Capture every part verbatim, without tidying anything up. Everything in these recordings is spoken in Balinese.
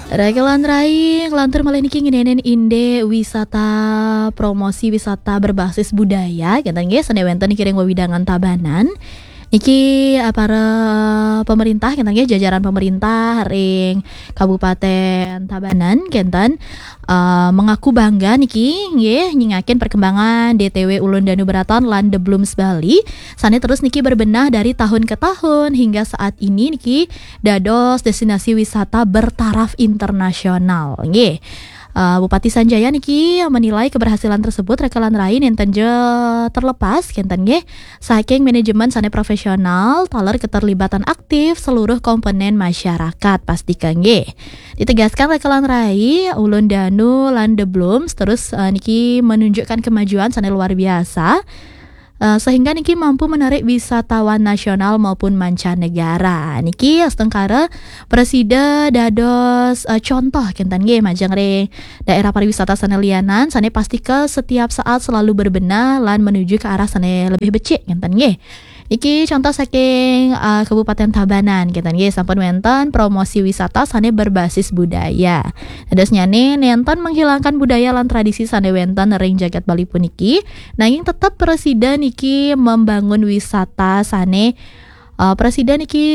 Rekelan rai, ngelantur malih niki ngeninin inde wisata, promosi wisata berbasis budaya, kenten nggih, sane wenten niki ring wewidangan Tabanan. Niki, eh, para pemerintah, kenten nggih, jajaran pemerintah ring Kabupaten Tabanan, kenten, eh, mengaku bangga niki, nggih, nyingakin perkembangan D T W Ulun Danu Beraton lan The Blooms Bali, sane terus niki berbenah dari tahun ke tahun hingga saat ini niki dados destinasi wisata bertaraf internasional. Nggih. Eh, Bupati Sanjaya niki menilai keberhasilan tersebut rekelan rai nenten ja terlepas, kenten nggih, saking manajemen sane profesional, taler keterlibatan aktif seluruh komponen masyarakat, pastika nggih. Ditegaskan rekelan rai, Ulun Danu lan The Blooms terus, eh, niki menunjukkan kemajuan sane luar biasa, eh, sehingga niki mampu menarik wisatawan nasional maupun mancanegara. Niki astungkara prasida dados, eh, contoh kenten nggih majeng ring daerah pariwisata sane lianan, sane pastika setiap saat selalu berbenah lan menuju ke arah sane lebih becik, kenten nggih. Niki contoh saking, eh, Kabupaten Tabanan, kenten nggih, sampun wenten promosi wisata sane berbasis budaya. Dadosnyane nenten menghilangkan budaya lan tradisi sane wenten ring jagat Bali puniki, nanging tetep prasida niki membangun wisata sane, eh, prasida niki,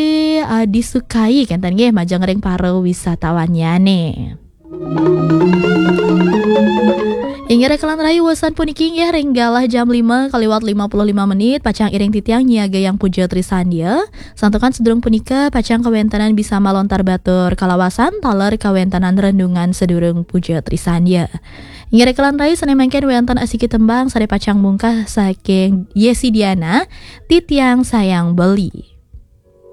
eh, disukai, kenten nggih, majeng ring para wisatawannyane. Inggih rekelan rai, wesan puniki nggih ring galah jam lima kaliwat lima puluh lima menit, pacang iring titiang nyiagayang Puja Trisandya. Santukan sadurung punika pacang kawentenan bisa malontar batur kalawasan taler kawentenan renungan sadurung Puja Trisandya. Inggih rekelan rai, sane mangkin wenten asiki tembang sane pacang mungkah saking Yesi Diana, Titiang Sayang Beli.